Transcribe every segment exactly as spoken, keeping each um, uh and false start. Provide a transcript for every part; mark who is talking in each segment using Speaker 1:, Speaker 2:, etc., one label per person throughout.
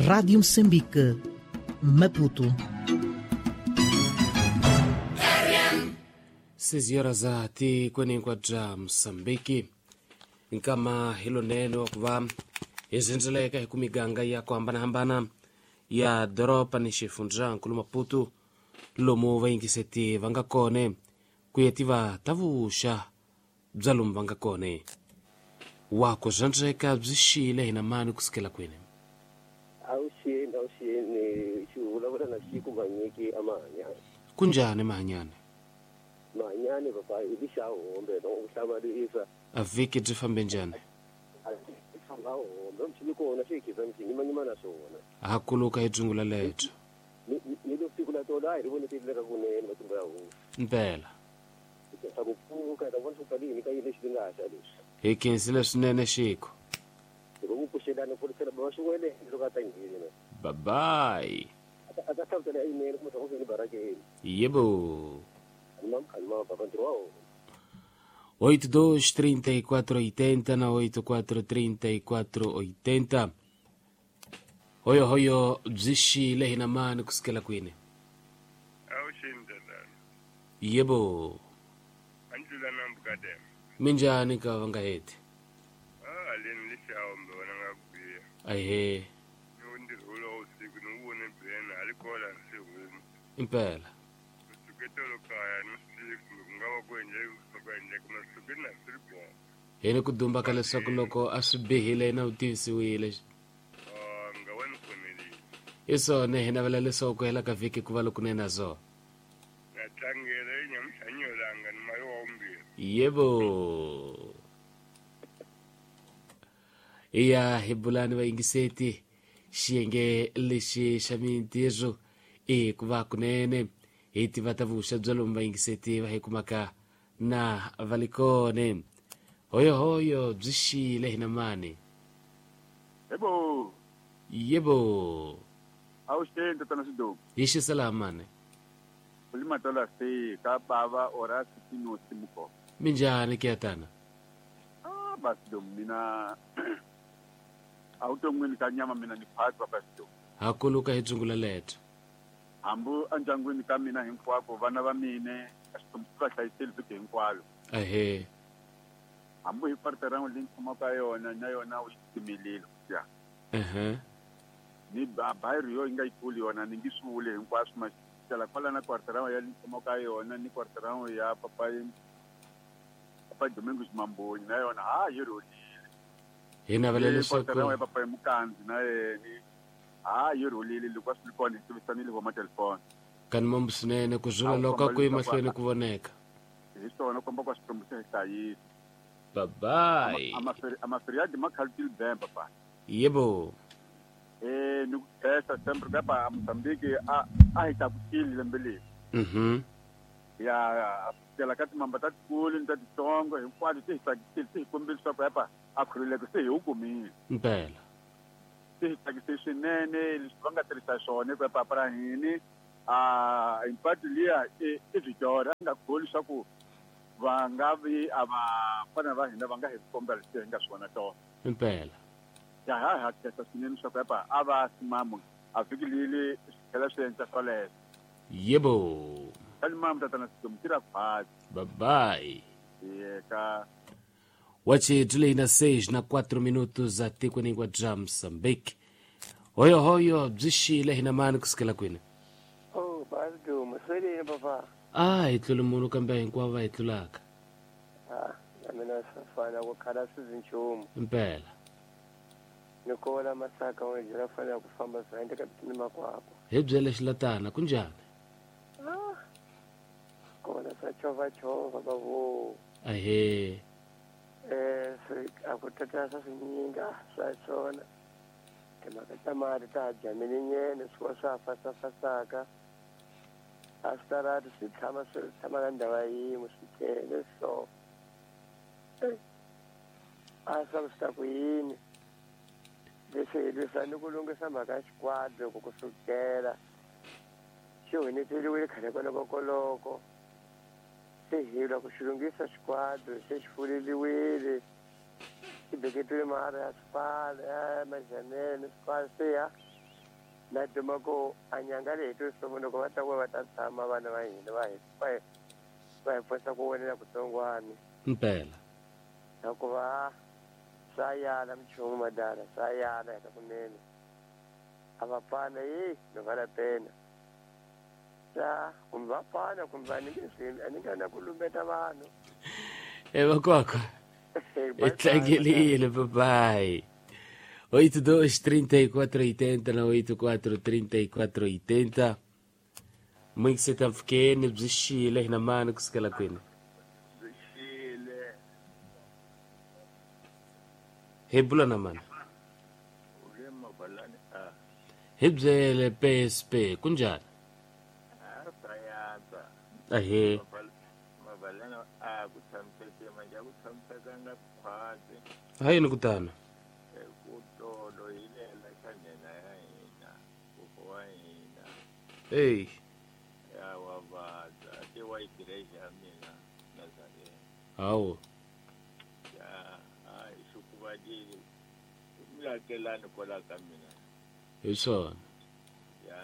Speaker 1: Rádio Moçambique, Maputo.
Speaker 2: Seis horas ati kwenenkwa Moçambique nkama hilonene wa kuva hi hi ku miganga ya ku hambanahambana ya doroba ni xifundzankulu Maputo lomu vayingiseti va nga kone ku ya tiva ta vuxa bya lomu va nga kone wa ku zwandzeka byi xile hina mani ku sukela kwini.
Speaker 3: Awuxini awuxini xi vulavula na xiku manyiki a mahanyani.
Speaker 2: Kunjhani mahanyani?
Speaker 3: Mahanyani papa i lixa hombe no u hlamarisa.
Speaker 2: A vhiki byi fambe njhani?
Speaker 3: Famba hombe mchini kona xi khiza mchini na swona.
Speaker 2: Ha kuluka hi dzungula lebyo.
Speaker 3: Ni ni lo siku la tola hi ri vone tileka kunene matimba ya hosi.
Speaker 2: Mpela.
Speaker 3: Sa ku pfuka ta vona swo kalini ka yini lexi nga xa leswi.
Speaker 2: Hi khensile swinene xiko.
Speaker 3: Loko ku pfuxelana pfurisela ba swi loko a ta nghena.
Speaker 2: Bye bye.
Speaker 3: A ta hlamusela yinene kumbe swa ku ni barakeni.
Speaker 2: Yebo.
Speaker 3: Kalma
Speaker 2: oito dois trinta e quatro oitenta na oito quatro trinta e quatro oitenta. Hoyo hoyo byi xile hina mani ku sukela kwini?
Speaker 4: Awuxini tatana.
Speaker 2: Yebo.
Speaker 4: Andlula nambukadem.
Speaker 2: Minjhani ka va nga heti?
Speaker 4: Ah, aleni lexawo mbe wona nga ku biha.
Speaker 2: Ahe.
Speaker 4: Ni wu ntirho wolowo usiku ni wu vone bena a li kola se huma.
Speaker 2: Impela.
Speaker 4: Suketolo kaya ni swi kumbe ku nga va ku endleke ku endleke ma suke na swi ri kona.
Speaker 2: Hi ni ku dumba ka leswaku loko a swi bihile na u tivisiwile.
Speaker 4: Ah, nga wa ni khomelile.
Speaker 2: I swona hi navela leswaku ku hela ka vhiki ku va lokunene na zona.
Speaker 4: Na tlangela i nyamuhanyolanga ni mayo wa vumbirhi.
Speaker 2: Yebo. Iya hi bulani vayingiseti xiyenge lexi xa mintirho i ku va kunene hi tiva ta vuxa bya lomu vayingiseti va hi kumaka na va li kone. Hoyohoyo byi xile hina mani.
Speaker 5: Yebo.
Speaker 2: Yebo.
Speaker 5: Awuxeni tatana Xiduku.
Speaker 2: Hi xisela mani.
Speaker 5: Ulimatola se ka bava ora sitino simuko.
Speaker 2: Minjhani ke tana?
Speaker 5: Ah, basido mina awuton'wini ka nyama mina ni phatwa basido.
Speaker 2: Ha kuluka hi dzungula leto.
Speaker 5: Hambu endyangwini ka mina hinkwako vana va mine a xitombi va hlayiseli vhiki hinkwalo.
Speaker 2: Ahe.
Speaker 5: Hambu hi partera leyi ni tshamaka yona na yona u yi timelile ya.
Speaker 2: Ehe.
Speaker 5: Ni bayiri yo yi nga yikulu yona ni ngi swi vuli hinkwaswo ma xela kwala na kwartera ya ni tshamaka yona ni kwartera ya papa papa Domingos Mamboni na yona ha yi rholile.
Speaker 2: Hi navela leswaku
Speaker 5: kwartera ya papa Mukandzi na yena ha yi rholile loko a swi ri kona hi tivisanile hi matelefoni.
Speaker 2: Kani mambu swinene ku zula loko ku emahlweni ku voneka.
Speaker 5: Hi swona komba kwa xikwembu xa hi hlayisa.
Speaker 2: Bye bye.
Speaker 5: Amaferiadi ma khalutile bem papa.
Speaker 2: Yebo.
Speaker 5: Eh ni ku khensa sempre kapa Mozambique a a hi tlakukile lembe leri.
Speaker 2: Mhm.
Speaker 5: Ya tela ka timamba ta tikulu ni ta titsongo hinkwato ti hi tsakisile ti hi kombile leswaku apa a khululeko se hi wu kumile.
Speaker 2: Mpela.
Speaker 5: Ti hi tsakise swinene leswi va nga tirhisa swona ku papa ra hini a impatu liya i i Victoria a nga kholi leswaku va nga vi a va fana va hina va nga hi kombela leswi hi nga swona tona.
Speaker 2: Mpela.
Speaker 5: Ya ha ha khensa swinene leswaku apa a va simamu a vhiki leli swi tlhela swi endla swoleswo.
Speaker 2: Yebo.
Speaker 5: Kalima tatana Sidomu tira khwatsi.
Speaker 2: Bye bye.
Speaker 5: Yeka.
Speaker 2: Wache tuleina seis na quatro minutos até kwenengwa dra Moçambique. Hoyo hoyo byi xile hina mani ku sukela kwini?
Speaker 6: Oh, Basidomu, swelini papa.
Speaker 2: Ah, hi tlule munhu kambe hinkwavo va hi tlulaka.
Speaker 6: Ah, na mina swi fana ku khala swi zi nchumu.
Speaker 2: Mpela.
Speaker 6: Ni kola masaka wa jira fanele ku famba swi endleka ni makwako.
Speaker 2: Hi byele xilatana kunjhani?
Speaker 6: Ah. Kona swa chovha chovha bavo.
Speaker 2: Ahe.
Speaker 6: Eh, swi a ku tata swa swinyinga swa swona. Timhaka ta mali ta ha jamile nyene swi va swa fasafasaka. A switarati swi tshama swi tshama na ndhawu yin'we swi tele so. A swa swi ta ku yini? Leswi hi lwisana ku lunghisa mhaka ya xikwadi ku ku sukela xi huneteliwile khale kwalokokoloko. Se hi lwa ku xi lunghisa xikwadi se xi fuleliwile xi beketiwe mara ya swipala ya majamele ni swipala se ya Na duma ku a nyanga leyi to sungula loko va ta ku va ta tshama vana va hina va hi va hi va hi pfusa ku vonela kutsongwana.
Speaker 2: Mpela.
Speaker 6: Hikuva swa yala minchumu madala swa yala eka kunene. A va pfana yi no va la pena. Sa kumbe va pfana kumbe a ni nge swi a ni nga na ku lumbeta vanhu.
Speaker 2: E vakwakwa.
Speaker 6: Bye
Speaker 2: Tlangelile, bye. oito dois trinta e quatro oitenta na oito quatro trinta e quatro oitenta. Muito se tá ficando bzixile na mano que se cala kwini.
Speaker 5: Bzixile.
Speaker 2: Hebula na mano.
Speaker 5: Ulema balani a.
Speaker 2: Hebzele P S P kunjani?
Speaker 5: A sayanza.
Speaker 2: Ahe.
Speaker 5: Mabalana a ku tshamiseke manje a ku tshamisekanga khwatsi.
Speaker 2: Hayini kutana.
Speaker 5: Kutolo ilela xa nena ya hina kokwa wa hina.
Speaker 2: Hey.
Speaker 5: Ya wa vabya a ti wa igreja ya mina Nazarena.
Speaker 2: Hawu.
Speaker 5: Ya a hi xukuvadile miakelani kwala ka mina.
Speaker 2: Hi swona.
Speaker 5: Ya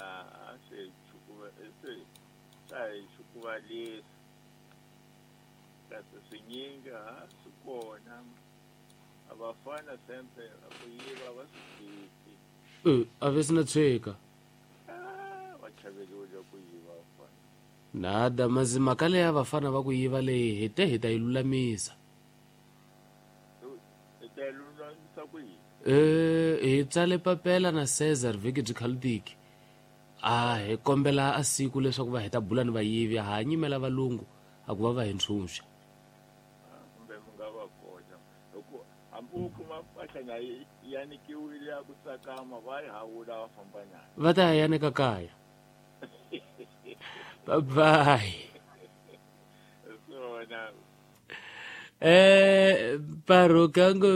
Speaker 5: a se xukuva se sa hi xukuvalisa kasi swinyingi ha swi kona. A vafana sempre a ku yiva va swi tshiki.
Speaker 2: Eh, a ve sina tshweka.
Speaker 5: Ah, va chaveliwile ku yiva vafana.
Speaker 2: Nada mazi mhaka leyi ya vafana va ku yiva leyi hi te hi ta yi lulamisa.
Speaker 5: Hi ta yi lulamisa ku yini?
Speaker 2: Eh, hi tsale papela na Cesar vhiki byi khalutiki. A hi kombela a siku leswaku va hi ta bula ni vayivi ha nyimela valungu a ku va va hi ntshunxa.
Speaker 5: Kumbe mi nga va koxa. Loko hambi u kuma mpahla yi yanikiwile ya ku tsakama va yi hawula va famba nayo.
Speaker 2: Va ta ya yanika kaya. Bye bye.
Speaker 5: Swona.
Speaker 2: Eh, barokango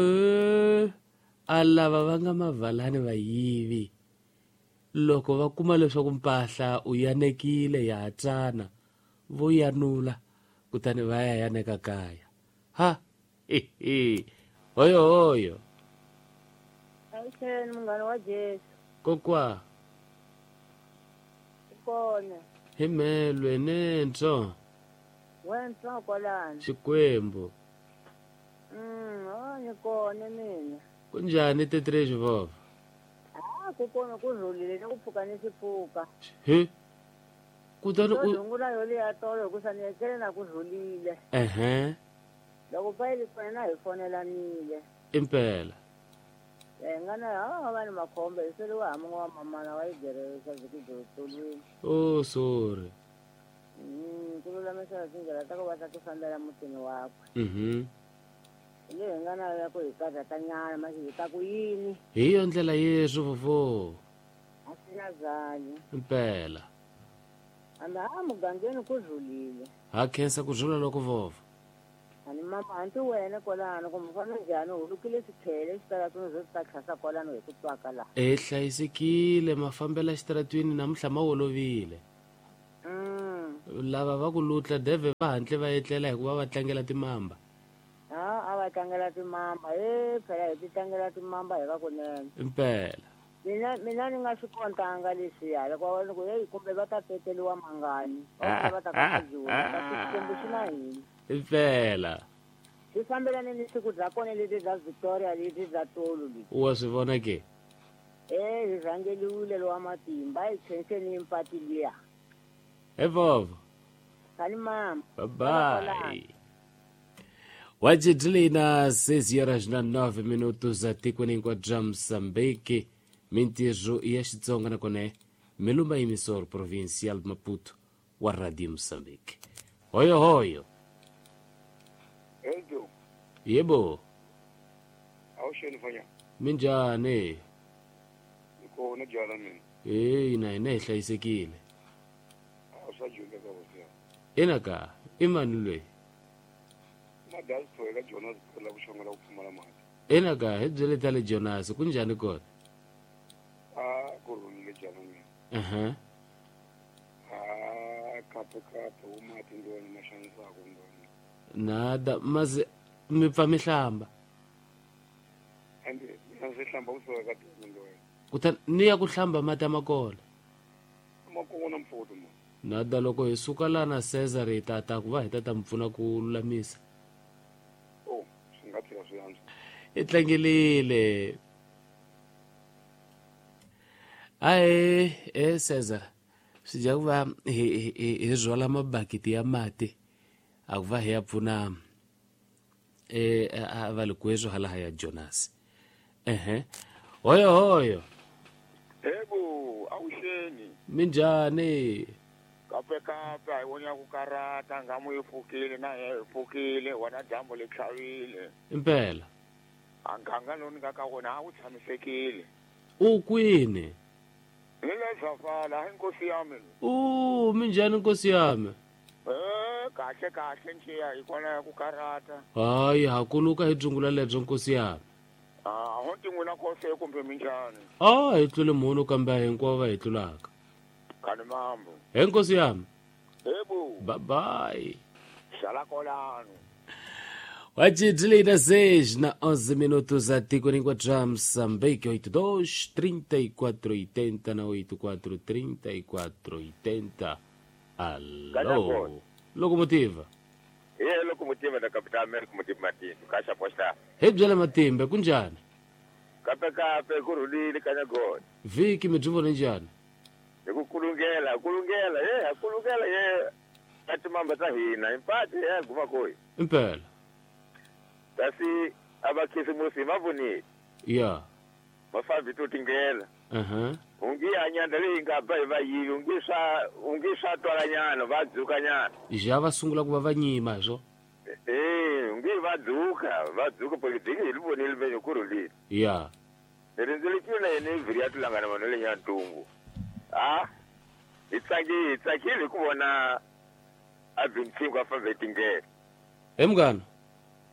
Speaker 2: a lava va nga mavalani vayivi. Loko va kuma leswaku mpahla u yanekile ya tsana vo yanula kutani va ya yaneka kaya. Ha. He. Hoyo hoyo.
Speaker 7: Avuxeni munghana wa Jesu.
Speaker 2: Kokwa.
Speaker 7: Kona.
Speaker 2: Hi melwe nentso.
Speaker 7: Wentso kwalano.
Speaker 2: Xikwembu.
Speaker 7: Mm, oh ni kona mina.
Speaker 2: Kunjani tetrezi vova?
Speaker 7: Ah, ku kona ku rhulile ni ku pfuka ni xipfuka.
Speaker 2: He. Kutani u
Speaker 7: rungula yo leya tolo ku sani etlele na ku rhulile.
Speaker 2: Ehe.
Speaker 7: Loko payili kona na hi fonelanile.
Speaker 2: Impela.
Speaker 7: Eh ngana ha va ni makhombo hi seriwa ha mun'we wa mamana wa igeresa vhiki byo tolweni.
Speaker 2: Oh sorry.
Speaker 7: Mm, ku lulamisa tindlela ta ku va ta ti fambela mutini wakwe.
Speaker 2: Mhm.
Speaker 7: Leyi hi nga na ya ku hi karhatanyana manje hi ta ku yini?
Speaker 2: Hi yo ndlela Yesu vovo.
Speaker 7: A swi na byanyi.
Speaker 2: Impela.
Speaker 7: Hambi a mugangeni ku rhulile.
Speaker 2: Ha khensa ku rhula loko vovo.
Speaker 7: Ani mama hanti wena kwalano kumbe fana njhani u lukile swikhele xitaratwini swo ta tlhasa kwalano hi ku twaka laha.
Speaker 2: E hlayisekile mafambela xitaratwini namuntlha ma olovile.
Speaker 7: Mm.
Speaker 2: Lava va ku lutla deve va hantle va etlela hikuva va tlangela timamba.
Speaker 7: Ha a va tlangela timamba e phela hi ti tlangela timamba hi va kunene.
Speaker 2: Impela.
Speaker 7: Mina mina ni nga swi kontanga leswiya loko va ku hey kumbe va ta teteliwa mangani va va ta ka jula kasi Xikwembu xi na hina.
Speaker 2: Impela.
Speaker 7: Swi fambelane ni siku bya kona leti bya Victoria leti bya tolo leti.
Speaker 2: Wa swi vona ke?
Speaker 7: Eh hi rhangeliwile lowa matimba hi khenseni mpati liya.
Speaker 2: He vovo.
Speaker 7: Sali mama.
Speaker 2: Bye bye. Wajidlina seis horas na nove minutos atikweni hinkwabyo bya Mozambique. Mintirho ya Xitsonga nakona Melumba emissor provincial Maputo wa Radio Mozambique. Hoyo hoyo.
Speaker 4: Ejo.
Speaker 2: Yebo.
Speaker 4: Awusheni fanya.
Speaker 2: Minjhani?
Speaker 4: Kona jala mina.
Speaker 2: Eh ina ina hi hlayisekile.
Speaker 4: Awusajule ka hosi.
Speaker 2: Ina ka i mani loyi?
Speaker 4: Madasi ka Jonas la ku xongela ku pfumala mali.
Speaker 2: Ina ka hi byele ta le Jonas kunjhani kona?
Speaker 4: A ku rhulile jala mina.
Speaker 2: Aha.
Speaker 4: A kape kape u mati ndoni ma xanisaka ndoni.
Speaker 2: Nada mazi mi pfa mi hlamba.
Speaker 4: Ende mina ndzi hlamba kusuka ka tolo ndoni.
Speaker 2: Kutani ni ya ku hlamba mati ya makona.
Speaker 4: Makona mfoto mo.
Speaker 2: Nada loko hi suka la na Cesar hi ta ta ku va hi ta ta mi pfuna ku lulamisa.
Speaker 4: Oh, swi nga tlhela swi antswa.
Speaker 2: I tlangelile. Ae, eh Cesar. Swi dya ku va hi hi hi rhwala mabakiti ya mati a ku va hi ya pfuna eh a va le kwezwo hala ya Jonas. Ehe. Hoyo hoyo.
Speaker 5: Ebo, awuxeni.
Speaker 2: Minjhani?
Speaker 5: Kape kape a hi vona ku karata ngamu yi pfukile na yi pfukile wona dyambu li tlhavile.
Speaker 2: Impela.
Speaker 5: A nganga lowu ni nga ka wona a wu tshamisekile.
Speaker 2: U kwini?
Speaker 5: Ni le Zafala, hi nkosi ya mina.
Speaker 2: U minjhani nkosi ya mina?
Speaker 5: Eh, kahle kahle nxiya hi kona ku karata.
Speaker 2: Hayi, ha kuluka hi dzungula lebyo nkosi ya mina.
Speaker 5: Ah, ho ti n'wina kose kumbe minjhani?
Speaker 2: Ah, hi tlule munhu kambe hinkwavo va hi tlulaka.
Speaker 5: Kani mambo.
Speaker 2: He nkosi ya mina.
Speaker 5: Ebo.
Speaker 2: Bye bye.
Speaker 5: Sala kolano.
Speaker 2: Wajidlina seis na onze minutos a tiko ninguadra Moçambique oito dois trinta e quatro oitenta na oito quatro trinta e quatro oitenta. Alô. Locomotiva.
Speaker 5: E locomotiva da capital América Motiva Matimba, Caixa Posta.
Speaker 2: Hebjela Matimba, kunjani?
Speaker 5: Kape kape kurulile kanyagona.
Speaker 2: Viki midzuvo njani?
Speaker 5: Nikukulungela, kulungela, eh, kulungela ye. Atimamba ta hina, impati ya guma koi.
Speaker 2: Impela.
Speaker 5: Kasi abakhisimusi mavunile.
Speaker 2: Yeah.
Speaker 5: Mafambi tutingela.
Speaker 2: Uh-huh.
Speaker 5: Ungi anyanda leyi nga ba va yivi, ungi swa ungi swa twalanyana va dzukanyana.
Speaker 2: Ja va sungula ku va va nyima swo.
Speaker 5: Eh, ungi va dzuka, va dzuka politiki hi vonile venyo kurulile.
Speaker 2: Yeah.
Speaker 5: Rindzele na yena vhiri ya tulangana vanhu le nyantungu. Ah. Hi tsaki hi tsakile ku vona a bintsingo a fambe tingela.
Speaker 2: He munghana.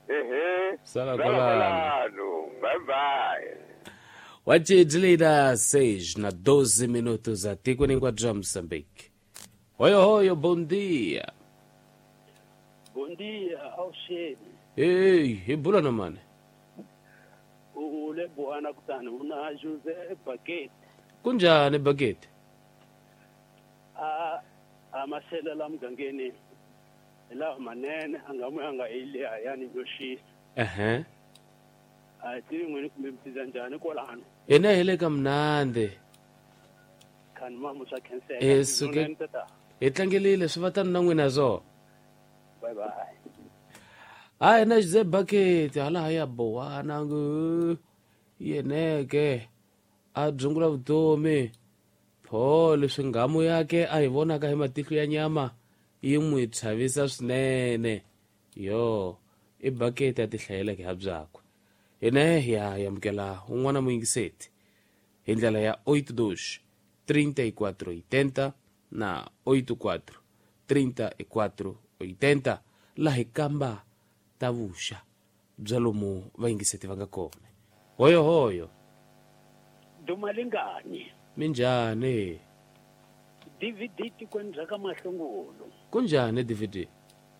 Speaker 5: Ehe.
Speaker 2: Sala kwalano.
Speaker 5: Bye bye.
Speaker 2: Wajidlina seis na doze minutos a tiko ninguadra Moçambique. Hoyo hoyo, bom dia.
Speaker 8: Bom dia, Alxene.
Speaker 2: Ei, hi bula na mani?
Speaker 8: U le Buana kutani una José Bakete.
Speaker 2: Kunjani Bakete?
Speaker 8: A a masela la mugangeni la manene angamu anga ile yani yoshisa.
Speaker 2: Ehe.
Speaker 8: A tivi n'wini kumbe mtiza njhani kwalano?
Speaker 2: Hina hi le ka mnandi.
Speaker 8: Khani mamu swa khenseka.
Speaker 2: Eh, suke hi tlangelile swi va tani na n'wina zo.
Speaker 8: Bye bye.
Speaker 2: Hayi na José Bakete hala ya Bowana ngu yeneke a dzungula vutomi pho leswi nghamu yake a hi vonaka hi matihlo ya nyama yi n'wi chavisa swinene yo i Bakete a ti hlayeleke ha byakwe. Hina hi ya amukela un'wana muyingiseti hi ndlela ya oito dois trinta e quatro oitenta na oito quatro trinta e quatro oitenta laha hi kamba ta vuxa bya lomu vayingiseti va nga kona. Hoyo hoyo.
Speaker 8: Dumalingani.
Speaker 2: Minjhani?
Speaker 8: D V D tikweni bya ka Mahlungulu.
Speaker 2: Kunjhani D V D?